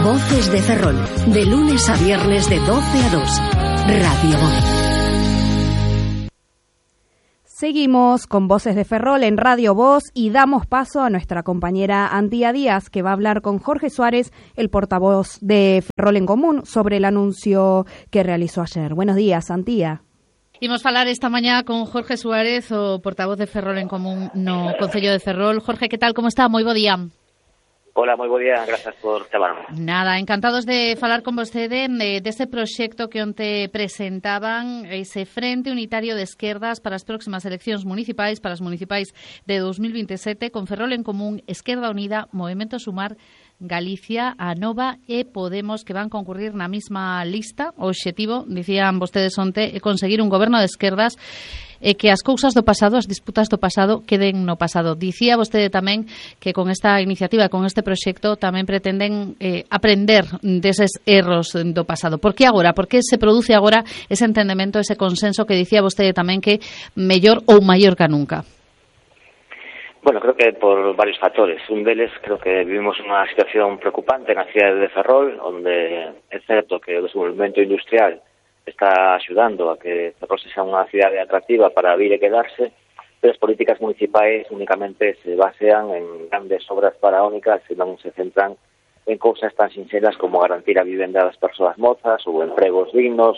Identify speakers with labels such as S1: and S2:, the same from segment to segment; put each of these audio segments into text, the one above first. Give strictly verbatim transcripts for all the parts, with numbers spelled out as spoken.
S1: Voces de Ferrol, de lunes a viernes de doce a dos. Radio Voz.
S2: Seguimos con Voces de Ferrol en Radio Voz y damos paso a nuestra compañera Antía Díaz, que va a hablar con Jorge Suárez, el portavoz de Ferrol en Común, sobre el anuncio que realizó ayer. Buenos días, Antía.
S3: Imos falar esta mañá con Jorge Suárez, o portavoz de Ferrol en Común no Concello de Ferrol. Jorge, que tal, como está? Moi bo día.
S4: Hola, moi bo día, grazas por chamarme.
S3: Nada, encantados de falar con vostede de, deste proxecto que onte presentaban, ese Frente Unitario de Esquerdas para as próximas eleccións municipais, para as municipais de dos mil veintisiete, con Ferrol en Común, Esquerda Unida, Movemento Sumar, Galicia, Anova e Podemos, que van concurrir na mesma lista. O obxectivo, dicían vostedes onte, é conseguir un goberno de esquerdas e que as cousas do pasado, as disputas do pasado, queden no pasado. Dicía vostede tamén que con esta iniciativa, con este proxecto, tamén pretenden eh, aprender deses erros do pasado. Por que agora? Por que se produce agora ese entendemento, ese consenso que dicía vostede tamén que mellor ou maior que nunca?
S4: Bueno, creo que por varios factores. Un deles, creo que vivimos unha situación preocupante na cidade de Ferrol, onde é certo que o desenvolvemento industrial está axudando a que Ferrol sexa unha cidade atractiva para vir e quedarse, pero as políticas municipais únicamente se basean en grandes obras faraónicas e non se centran en cousas tan sinxelas como garantir a vivenda das persoas mozas ou empregos dignos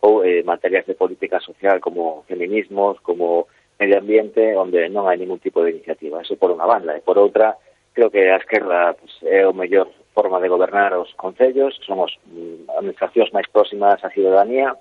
S4: ou eh, materias de política social como feminismos, como medio ambiente, onde non hai ningún tipo de iniciativa. Eso por unha banda. E por outra, creo que a esquerda pues, é o mellor forma de gobernar os concellos, somos mm, administracións máis próximas á ciudadanía.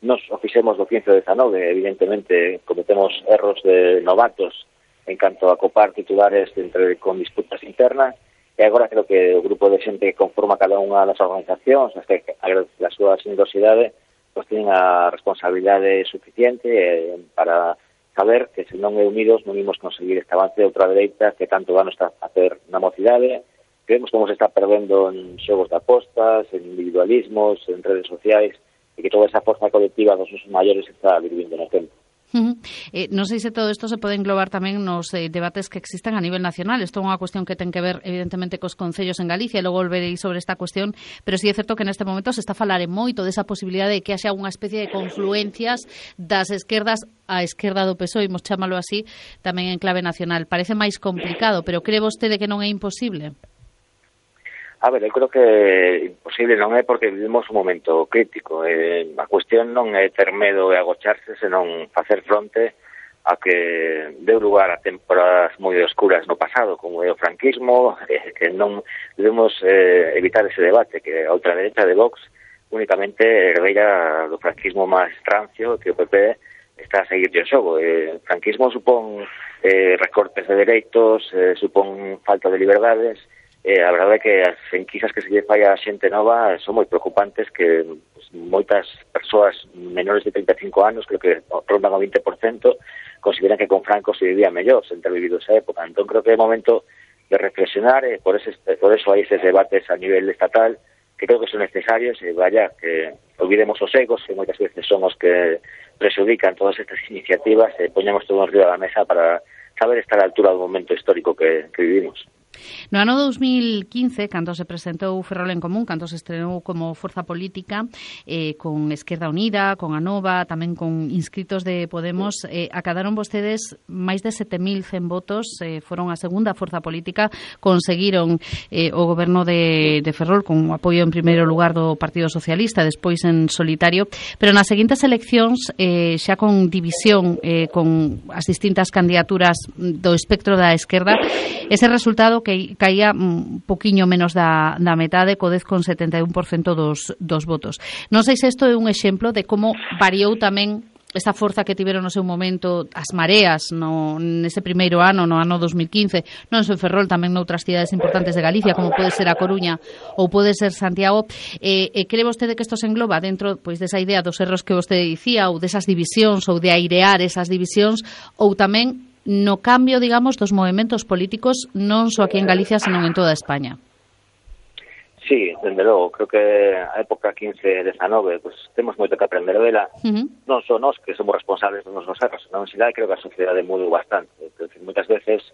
S4: Nos o fixemos do quince ao dezanove, evidentemente cometemos erros de novatos en canto a copar titulares entre con disputas internas, e agora creo que o grupo de xente que conforma cada unha das organizacións, as que agradece a súa xenerosidade, pues tienen a responsabilidade suficiente eh, para saber que se non é unidos non imos conseguir este avance de outra dereita que tanto dano está a hacer na mocidade. Vemos como se está perdendo en xogos de apostas, en individualismos, en redes sociais, e que toda esa forza colectiva dos nosos maiores está vivindo no tempo.
S3: Uh -huh. eh, non sei se todo isto se pode englobar tamén nos eh, debates que existan a nivel nacional. Isto é unha cuestión que ten que ver evidentemente cos concellos en Galicia, e logo volverei sobre esta cuestión, pero sí é certo que neste momento se está a falar moito desa posibilidade de que haxa unha especie de confluencias das esquerdas a esquerda do P S O E, imos chamalo así, tamén en clave nacional. Parece máis complicado, pero cree vostede que non é imposible?
S4: A ver, eu creo que imposible non é porque vivimos un momento crítico. Eh, a cuestión non é ter medo e agocharse, senón facer fronte a que deu lugar a temporadas moi oscuras no pasado, como é o franquismo, eh, que non debemos eh, evitar ese debate, que a ultraderecha de Vox únicamente herdeira do franquismo máis rancio, que o P P está a seguir o xogo. Eh, o franquismo supón eh, recortes de dereitos, eh, supón falta de liberdades. Eh, a verdade é que as enquisas que se lle fai a xente nova son moi preocupantes, que pues, moitas persoas menores de treinta e cinco anos, creo que rondan o vinte por cento, consideran que con Franco se vivía mellor sen ter vivido esa época. Entón creo que é momento de reflexionar, e por, ese, por eso hai eses debates a nivel estatal que creo que son necesarios, e vaya, que olvidemos os egos, que moitas veces son os que prexudican todas estas iniciativas, e poñamos todo en riba da mesa para saber estar á altura do momento histórico que, que vivimos.
S3: No ano dos mil quince, cando se presentou Ferrol en Común, cando se estrenou como forza política, eh, con Esquerda Unida, con Anova, tamén con inscritos de Podemos, eh, acadaron vostedes máis de sete mil cen votos, eh, foron a segunda forza política, conseguiron eh, o goberno de, de Ferrol con apoio en primeiro lugar do Partido Socialista, despois en solitario, pero nas seguintes eleccións, eh, xa con división, eh, con as distintas candidaturas do espectro da esquerda, ese resultado que caía un poquiño menos da, da metade, co dez con setenta e un por cento dos, dos votos. Non sei se isto é un exemplo de como variou tamén esta forza que tiveron no seu momento as mareas no, nese primeiro ano, no ano dos mil quince, non só en Ferrol, tamén noutras cidades importantes de Galicia, como pode ser a Coruña ou pode ser Santiago. E, e cree vostede que isto se engloba dentro pois desa idea dos erros que vostede dicía, ou desas divisións, ou de airear esas divisións, ou tamén no cambio, digamos, dos movementos políticos non só aquí en Galicia, senón en toda España?
S4: Sí, dende logo, creo que a época quince dezanove, pues, temos moito que aprender dela, uh-huh. non só nós que somos responsables dos nosos erros, non sei, creo que a sociedade mudou bastante. Decir, moitas veces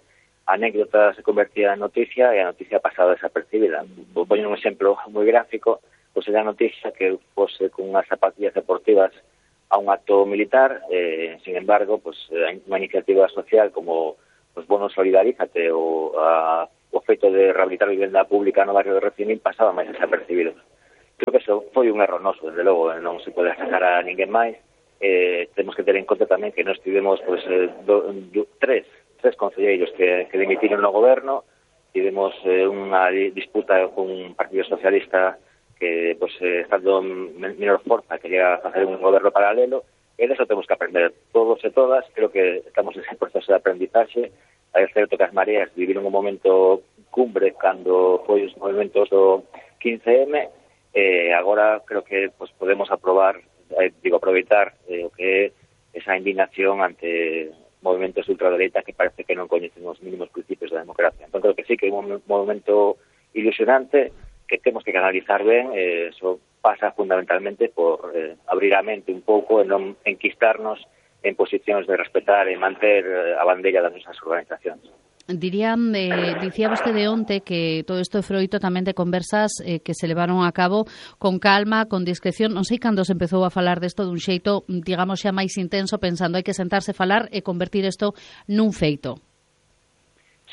S4: a anécdota se convertía en noticia e a noticia pasaba desapercibida. Vou poñer un exemplo moi gráfico, pois era a noticia que fose con unhas zapatillas deportivas a un acto militar, eh, sin embargo, pues, unha iniciativa social como pues, Bono Solidarízate ou a, o feito de rehabilitar a vivenda pública no barrio de Recimín pasaba máis desapercibido. Creo que eso foi un erro noso, desde logo, non se pode sacar a ninguén máis. Eh, temos que ter en conta tamén que nós tivemos pues, eh, do, do, tres, tres concelleiros que, que dimitiron no goberno, tivemos eh, unha disputa con un partido socialista que, pues, eh, estando menor forza, quería facer un goberno paralelo, e deso temos que aprender todos e todas. Creo que estamos en ese proceso de aprendizaxe. É certo que as mareas viviron un momento cumbre cando foi os movimentos do quince eme, e agora creo que pues, podemos aprobar, eh, digo, aproveitar eh, o que é esa indignación ante movimentos de ultradereita que parece que non coñecen os mínimos principios da democracia. Entón creo que sí que é un momento ilusionante que temos que canalizar ben, eh, eso pasa fundamentalmente por eh, abrir a mente un pouco e non enquistarnos en posicións de respetar e manter eh, a bandeira das nosas organizacións.
S3: Dirían, eh, dicía vostede onte que todo isto é froito tamén de conversas eh, que se levaron a cabo con calma, con discreción. Non sei cando se empezou a falar desto dun xeito, digamos, xa máis intenso, pensando hai que sentarse a falar e convertir isto nun feito.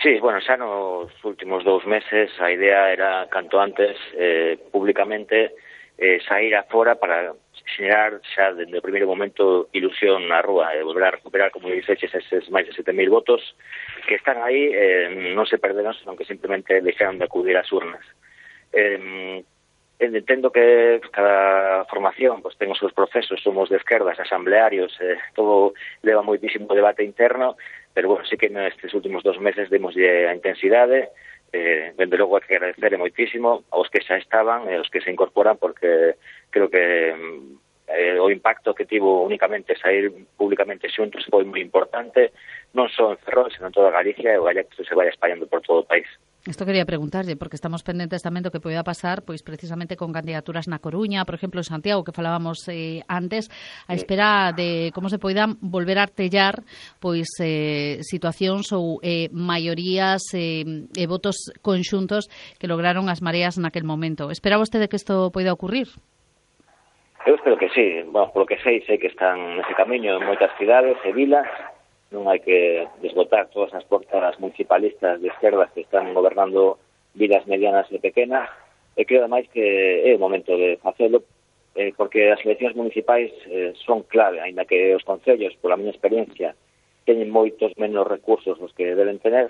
S4: Sí, bueno, xa nos últimos dous meses a idea era, canto antes, eh, públicamente, eh, sair afora para xenerar xa dende o primeiro momento ilusión na rúa e volver a recuperar, como dixeches, eses máis de sete mil votos que están aí, eh, non se perderon, senón que simplemente deixaron de acudir ás urnas. Eh, entendo que cada formación pues, ten os seus procesos, somos de esquerdas, asamblearios, eh, todo leva moitísimo debate interno, pero bueno, sí que nestes últimos dos meses demoslle a intensidade. Eh, dende logo hai que agradecer moitísimo aos que xa estaban e aos que se incorporan, porque creo que eh, o impacto que tivo únicamente sair públicamente xuntos foi moi importante, non só en Ferrol, senón en toda Galicia, e o galego se vai espallando por todo o país.
S3: Isto quería preguntarlle, porque estamos pendentes tamén do que poida pasar, pois precisamente con candidaturas na Coruña, por exemplo, en Santiago, que falábamos eh, antes, a espera de como se poidan volver a artellar pois eh, situacións ou eh, maiorías e eh, votos conxuntos que lograron as mareas naquel momento. Espera vostede que isto poida ocurrir?
S4: Eu espero que sí. Bueno, polo que sei, sei que están nese camiño en moitas cidades e vilas. Non hai que desbotar todas as portas municipalistas de esquerdas que están gobernando vilas medianas e pequenas, e creo ademais que é o momento de facelo, eh, porque as eleccións municipais eh, son clave, aínda que os concellos, pola miña experiencia, teñen moitos menos recursos os que deben tener,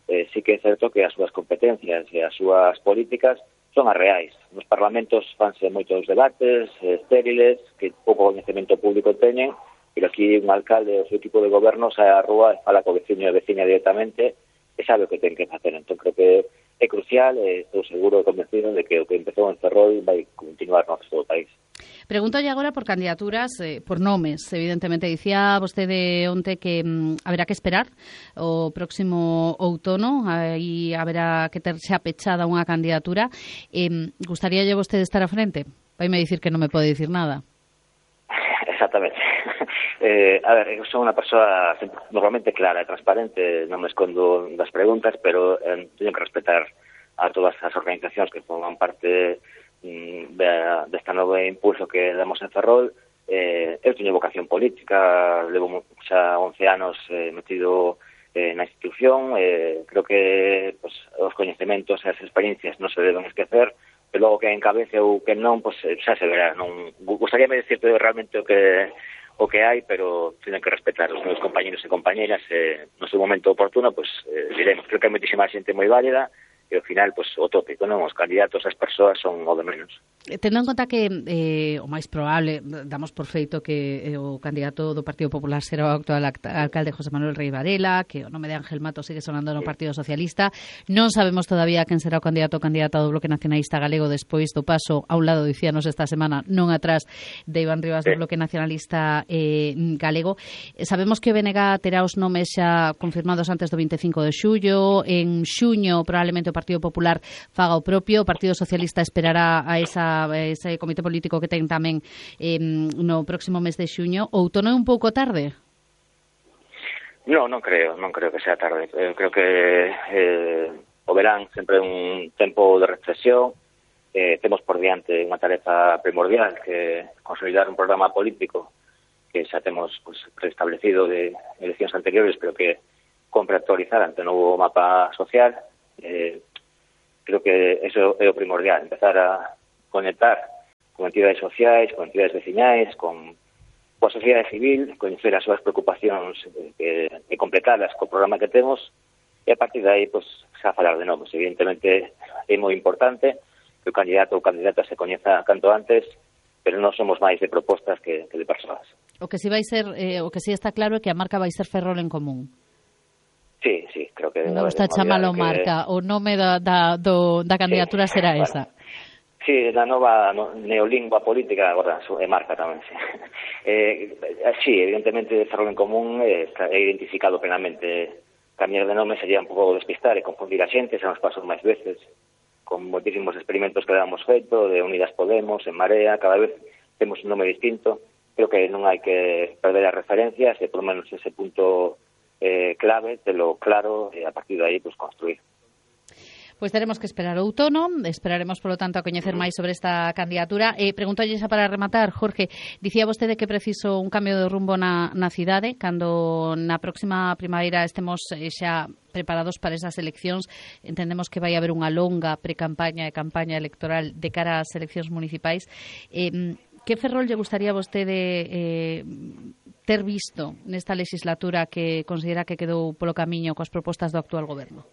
S4: eh, sí que é certo que as súas competencias e as súas políticas son as reais. Nos parlamentos fanse moitos debates eh, estériles, que pouco coñecemento público teñen, pero aquí un alcalde ou seu equipo de goberno sae á rúa e fala co veciño e veciña directamente e sabe o que ten que facer. Entón creo que é crucial e estou seguro e convencido de que o que empezou en Ferrol vai continuar no resto do país.
S3: Pregúntolle agora por candidaturas, eh, por nomes, evidentemente. Dicía vostede onte que mm, haberá que esperar o próximo outono, aí haberá que ter xa pechada unha candidatura. Eh, gustaríalle vostede estar a frente? Vaime dicir que non me pode dicir nada.
S4: Exactamente. Eh, a ver, eu son unha persoa normalmente clara e transparente, non me escondo das preguntas, pero eh, teño que respetar a todas as organizacións que forman parte mm, de, desta novo impulso que damos en Ferrol. Eh, eu teño vocación política, levo xa once anos eh, metido eh, na institución, eh, creo que pues, os coñecementos e as experiencias non se deben esquecer, e logo que encabece ou que non, pues, xa se verá. Non gustaría me decirte realmente o que o que hai, pero teñen que respetar os meus compañeros e compañeras, e no seu momento oportuno, pues, eh, diremos. Creo que hai moitísima xente moi válida, e ao final, pues, o tópico, non? Os candidatos, as persoas son o de menos.
S3: Tendo en conta que eh, o máis probable, damos por feito que eh, o candidato do Partido Popular será o actual alcalde José Manuel Rei Varela, que o nome de Ángel Mato sigue sonando no Partido Socialista. Non sabemos todavía quen será o candidato ou candidata do Bloque Nacionalista Galego despois do paso a un lado, dicíanos esta semana, non atrás de Iván Rivas do Bloque Nacionalista eh, Galego. Sabemos que o B N G terá os nomes xa confirmados antes do vinte e cinco de xullo. En xuño probablemente o Partido Popular faga o propio. O Partido Socialista esperará a esa ese comité político que ten tamén eh, no próximo mes de xuño. Outono é un pouco tarde?
S4: No, non creo, non creo que sea tarde. Eu creo que eh, o verán sempre un tempo de reflexión. Eh, temos por diante unha tarefa primordial, que consolidar un programa político que xa temos pues, preestablecido de eleccións anteriores, pero que compre actualizar ante o novo mapa social. Eh, creo que eso é o primordial, empezar a conectar con entidades sociais, con entidades veciñais, con coa sociedade civil, coñecer as súas preocupacións e, e completalas co programa que temos, e a partir de aí, pues, xa falar de nomes. Evidentemente, é moi importante que o candidato ou candidata se coñeza canto antes, pero non somos máis de propostas que, que de persoas.
S3: O que si vai ser, eh, o que si está claro é que a marca vai ser Ferrol en Común.
S4: Sí, sí, creo que...
S3: Non está chamalo que... marca, o nome da, da, do, da candidatura sí, será bueno. esa.
S4: Sí, na nova no, neolingua política agora é marca tamén, sí. Eh, sí, evidentemente Ferrol en Común é, é identificado plenamente. Cambiar de nome sería un pouco despistar e confundir a xente, xa nos pasou máis veces, con moitísimos experimentos que damos feito, de Unidas Podemos, en Marea, cada vez temos un nome distinto. Creo que non hai que perder as referencias e por lo menos ese punto eh, clave, telo claro, e a partir de aí pues, construir.
S3: Pois teremos que esperar o outono, esperaremos, polo tanto, a coñecer máis sobre esta candidatura. Eh, Preguntolle xa para rematar, Jorge, dicía vostede que preciso un cambio de rumbo na, na cidade, cando na próxima primavera estemos eh, xa preparados para esas eleccións. Entendemos que vai haber unha longa precampaña e campaña electoral de cara ás eleccións municipais. Eh, que Ferrol lle gustaría a vostede eh, ter visto nesta legislatura que considera que quedou polo camiño coas propostas do actual goberno?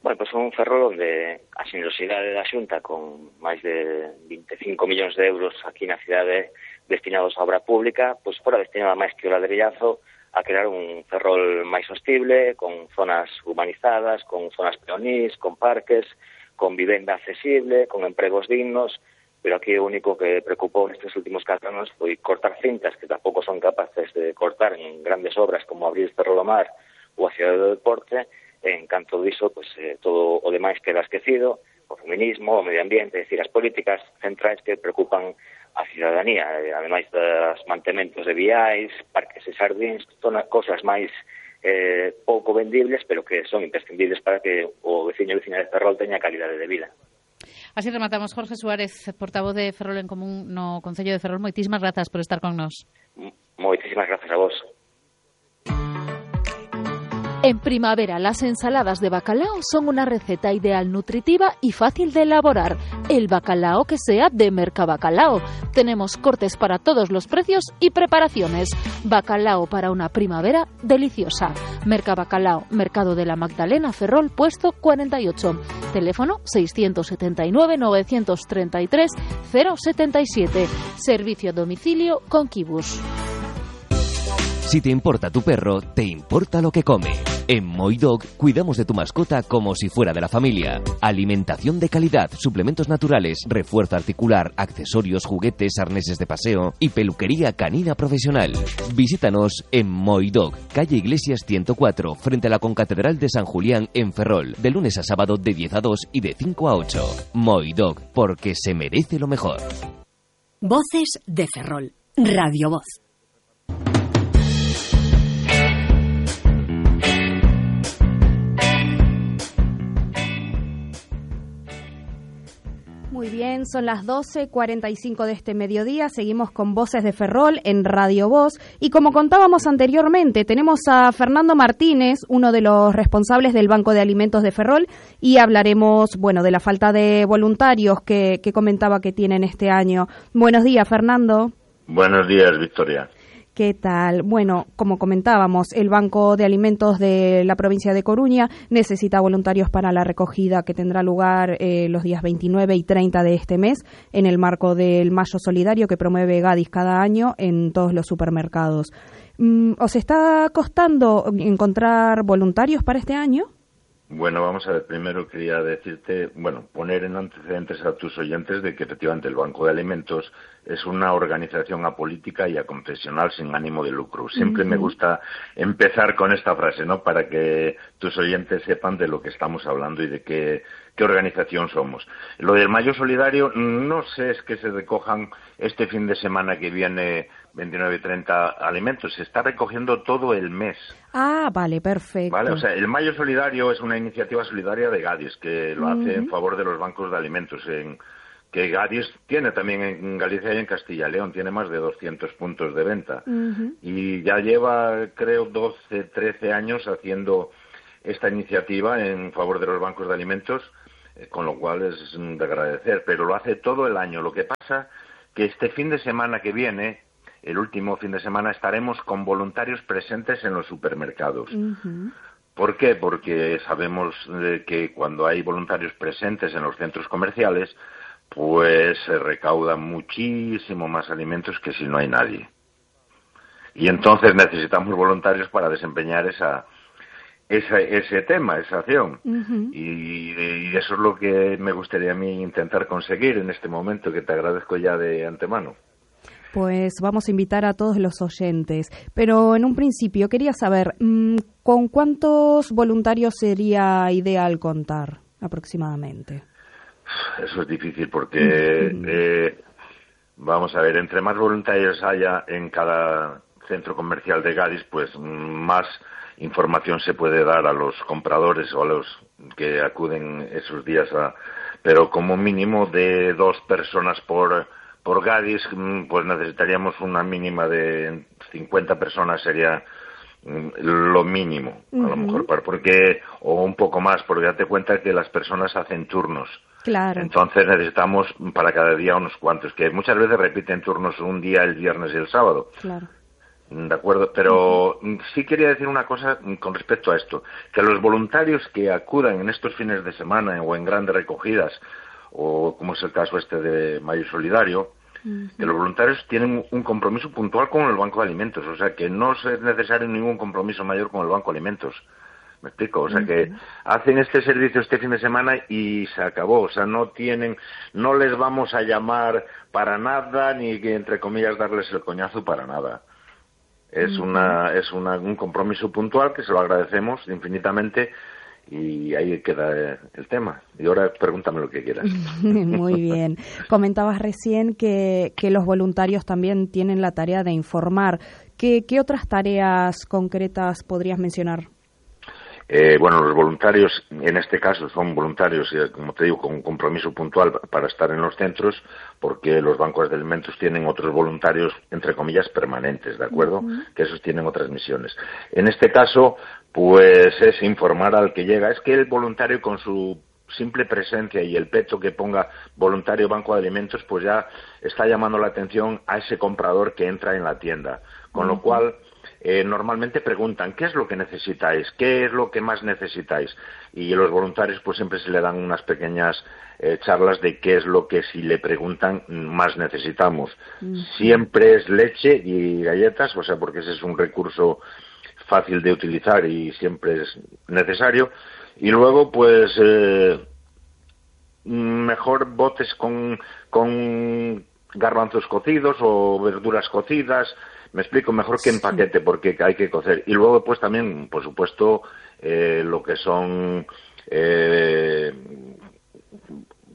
S4: Bueno, pois pues un Ferrol onde a xenerosidade da Xunta, con máis de vinte e cinco millóns de euros aquí na cidade destinados a obra pública, pois pues fora destinada máis que o ladrillazo a crear un Ferrol máis sostible, con zonas humanizadas, con zonas peonís, con parques, con vivenda accesible, con empregos dignos, pero aquí o único que preocupou nestes últimos catro anos foi cortar cintas que tampouco son capaces de cortar en grandes obras como abrir Ferrol ao Mar ou a Cidade do Deporte. En canto diso, pues, eh, todo o demais queda esquecido, o feminismo, o medio ambiente, es decir, as políticas centrais que preocupan a cidadanía, eh, ademais dos mantementos de viais, parques e xardíns, todas cosas máis eh, pouco vendibles, pero que son imprescindibles para que o veciño e veciña de Ferrol teña calidade de vida.
S3: Así rematamos. Jorge Suárez, portavoz de Ferrol en Común no Concello de Ferrol. Moitísimas grazas por estar con nós.
S4: Moitísimas grazas a vos.
S5: En primavera, las ensaladas de bacalao son una receta ideal, nutritiva y fácil de elaborar. El bacalao que sea de Mercabacalao. Tenemos cortes para todos los precios y preparaciones. Bacalao para una primavera deliciosa. Mercabacalao, Mercado de la Magdalena, Ferrol, puesto cuarenta y ocho. Teléfono seiscientos setenta y nueve, novecientos treinta y tres, cero setenta y siete. Servicio a domicilio con Kibus.
S6: Si te importa tu perro, te importa lo que come. En Moidog cuidamos de tu mascota como si fuera de la familia. Alimentación de calidad, suplementos naturales, refuerzo articular, accesorios, juguetes, arneses de paseo y peluquería canina profesional. Visítanos en Moidog, calle Iglesias ciento cuatro, frente a la Concatedral de San Julián en Ferrol, de lunes a sábado de diez a dos y de cinco a ocho. Moidog, porque se merece lo mejor.
S1: Voces de Ferrol. Radio Voz.
S2: Muy bien, son las doce cuarenta y cinco de este mediodía, seguimos con Voces de Ferrol en Radio Voz y como contábamos anteriormente, tenemos a Fernando Martínez, uno de los responsables del Banco de Alimentos de Ferrol y hablaremos, bueno, de la falta de voluntarios que, que comentaba que tienen este año. Buenos días, Fernando.
S7: Buenos días, Victoria.
S2: ¿Qué tal? Bueno, como comentábamos, el Banco de Alimentos de la provincia de Coruña necesita voluntarios para la recogida que tendrá lugar eh, los días veintinueve y treinta de este mes en el marco del Mayo Solidario que promueve Gadis cada año en todos los supermercados. ¿Os está costando encontrar voluntarios para este año?
S7: Bueno, vamos a ver, primero quería decirte, bueno, poner en antecedentes a tus oyentes de que efectivamente el Banco de Alimentos es una organización apolítica y aconfesional sin ánimo de lucro. Siempre uh-huh. me gusta empezar con esta frase, ¿no?, para que tus oyentes sepan de lo que estamos hablando y de qué, qué organización somos. Lo del Mayo Solidario, no sé, es que se recojan este fin de semana que viene veintinueve y treinta alimentos, se está recogiendo todo el mes.
S2: Ah, vale, perfecto.
S7: Vale, o sea, el Mayo Solidario es una iniciativa solidaria de Gadis que lo uh-huh. hace en favor de los bancos de alimentos, en, que Gadis tiene también en Galicia y en Castilla y León, tiene más de doscientos puntos de venta. Uh-huh. Y ya lleva, creo, doce, trece años haciendo esta iniciativa en favor de los bancos de alimentos, eh, con lo cual es de agradecer, pero lo hace todo el año. Lo que pasa que este fin de semana que viene, el último fin de semana, estaremos con voluntarios presentes en los supermercados. Uh-huh. ¿Por qué? Porque sabemos eh, que cuando hay voluntarios presentes en los centros comerciales, pues se recaudan muchísimo más alimentos que si no hay nadie. Y entonces necesitamos voluntarios para desempeñar esa, esa ese tema, esa acción. Uh-huh. Y, y eso es lo que me gustaría a mí intentar conseguir en este momento, que te agradezco ya de antemano.
S2: Pues vamos a invitar a todos los oyentes, pero en un principio quería saber, ¿con cuántos voluntarios sería ideal contar aproximadamente?
S7: Eso es difícil porque, uh-huh. eh, vamos a ver, entre más voluntarios haya en cada centro comercial de Gadis, pues más información se puede dar a los compradores o a los que acuden esos días a... Pero como mínimo de dos personas por... Por Gadis, pues necesitaríamos una mínima de cincuenta personas, sería lo mínimo, uh-huh. a lo mejor, porque o un poco más, porque date cuenta que las personas hacen turnos.
S2: Claro.
S7: Entonces necesitamos para cada día unos cuantos, que muchas veces repiten turnos un día, el viernes y el sábado.
S2: Claro.
S7: De acuerdo, pero uh-huh. sí quería decir una cosa con respecto a esto, que los voluntarios que acudan en estos fines de semana o en grandes recogidas, o como es el caso este de Mayo Solidario, uh-huh. que los voluntarios tienen un compromiso puntual con el Banco de Alimentos, o sea que no es necesario ningún compromiso mayor con el Banco de Alimentos. ¿Me explico? O sea uh-huh. que hacen este servicio este fin de semana y se acabó, o sea, no tienen, no les vamos a llamar para nada, ni que entre comillas darles el coñazo para nada. Es uh-huh. una, es una, un compromiso puntual que se lo agradecemos infinitamente. Y ahí queda el tema. Y ahora pregúntame lo que quieras.
S2: Muy bien. Comentabas recién que, que los voluntarios también tienen la tarea de informar. ¿Qué, qué otras tareas concretas podrías mencionar?
S7: Eh, bueno, los voluntarios, en este caso, son voluntarios, como te digo, con un compromiso puntual para estar en los centros, porque los bancos de alimentos tienen otros voluntarios, entre comillas, permanentes, ¿de acuerdo? Uh-huh. Que esos tienen otras misiones. En este caso, pues es informar al que llega. Es que el voluntario, con su simple presencia y el peto que ponga voluntario Banco de Alimentos, pues ya está llamando la atención a ese comprador que entra en la tienda. Con uh-huh. lo cual... Eh, normalmente preguntan, ¿qué es lo que necesitáis? ¿Qué es lo que más necesitáis? Y los voluntarios pues siempre se le dan unas pequeñas eh, charlas de qué es lo que si le preguntan más necesitamos. Uh-huh. Siempre es leche y galletas, o sea, porque ese es un recurso fácil de utilizar y siempre es necesario. Y luego pues eh, mejor botes con, con garbanzos cocidos o verduras cocidas. Me explico, mejor que en paquete, porque hay que cocer. Y luego, pues también, por supuesto, eh, lo que son eh,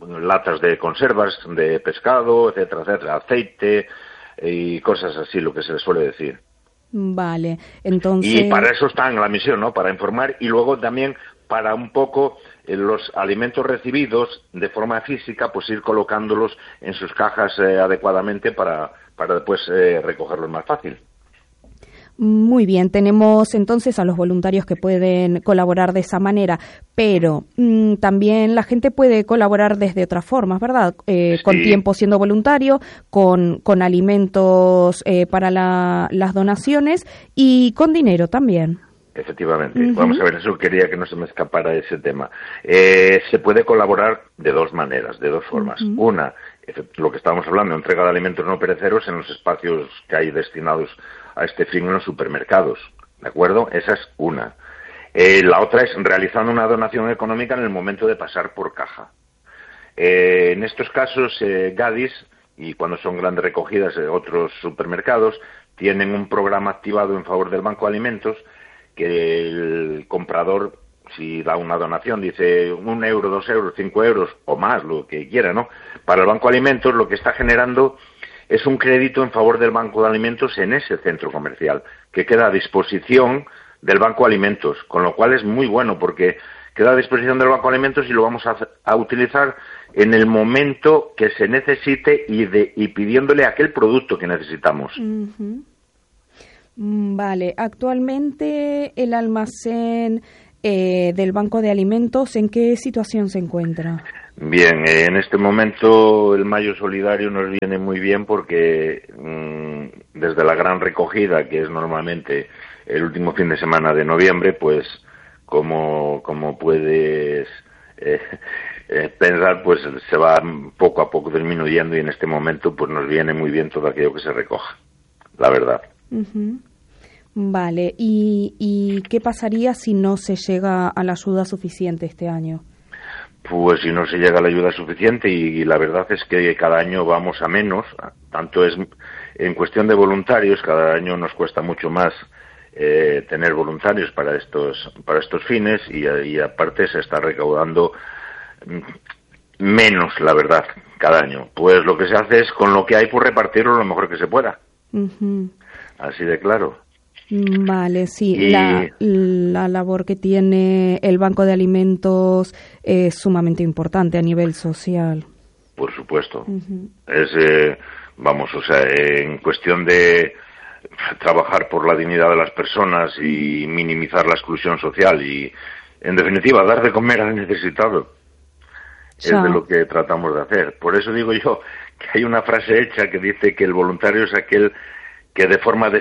S7: latas de conservas, de pescado, etcétera, etcétera, aceite y cosas así, lo que se les suele decir.
S2: Vale, entonces...
S7: Y para eso está en la misión, ¿no? Para informar y luego también para un poco eh, los alimentos recibidos de forma física, pues ir colocándolos en sus cajas eh, adecuadamente para... para después eh, recogerlos más fácil.
S2: Muy bien, tenemos entonces a los voluntarios que pueden colaborar de esa manera, pero mmm, también la gente puede colaborar desde otras formas, ¿verdad? Eh, sí. Con tiempo siendo voluntario, con, con alimentos eh, para la, las donaciones y con dinero también.
S7: Efectivamente. Uh-huh. Vamos a ver, eso quería que no se me escapara ese tema. Eh, se puede colaborar de dos maneras, de dos formas. Uh-huh. Una, lo que estábamos hablando, entrega de alimentos no perecederos en los espacios que hay destinados a este fin en los supermercados, ¿de acuerdo? Esa es una. Eh, la otra es realizando una donación económica en el momento de pasar por caja. Eh, en estos casos, eh, Gadis, y cuando son grandes recogidas de otros supermercados, tienen un programa activado en favor del Banco de Alimentos que el comprador si da una donación, dice un euro, dos euros, cinco euros o más, lo que quiera, ¿no? Para el Banco de Alimentos lo que está generando es un crédito en favor del Banco de Alimentos en ese centro comercial, que queda a disposición del Banco de Alimentos, con lo cual es muy bueno porque queda a disposición del Banco de Alimentos y lo vamos a, a utilizar en el momento que se necesite y, de, y pidiéndole aquel producto que necesitamos.
S2: Uh-huh. Vale, actualmente el almacén eh, del Banco de Alimentos, ¿en qué situación se encuentra?
S7: Bien, eh, en este momento el Mayo Solidario nos viene muy bien porque mmm, desde la gran recogida, que es normalmente el último fin de semana de noviembre, pues como, como puedes eh, eh, pensar, pues se va poco a poco disminuyendo y en este momento pues nos viene muy bien todo aquello que se recoja, la verdad.
S2: Uh-huh. Vale, ¿Y, ¿y qué pasaría si no se llega a la ayuda suficiente este año?
S7: Pues si no se llega a la ayuda suficiente y, y la verdad es que cada año vamos a menos, tanto es en cuestión de voluntarios, cada año nos cuesta mucho más eh, tener voluntarios para estos para estos fines y, y aparte se está recaudando menos, la verdad, cada año. Pues lo que se hace es con lo que hay pues repartirlo lo mejor que se pueda. Uh-huh. Así de claro.
S2: Vale, sí,
S7: y...
S2: la, la labor que tiene el Banco de Alimentos es sumamente importante a nivel social.
S7: Por supuesto. Uh-huh. Es, eh, vamos, o sea, en cuestión de trabajar por la dignidad de las personas y minimizar la exclusión social y, en definitiva, dar de comer al necesitado. Ya. Es de lo que tratamos de hacer. Por eso digo yo que hay una frase hecha que dice que el voluntario es aquel que de forma de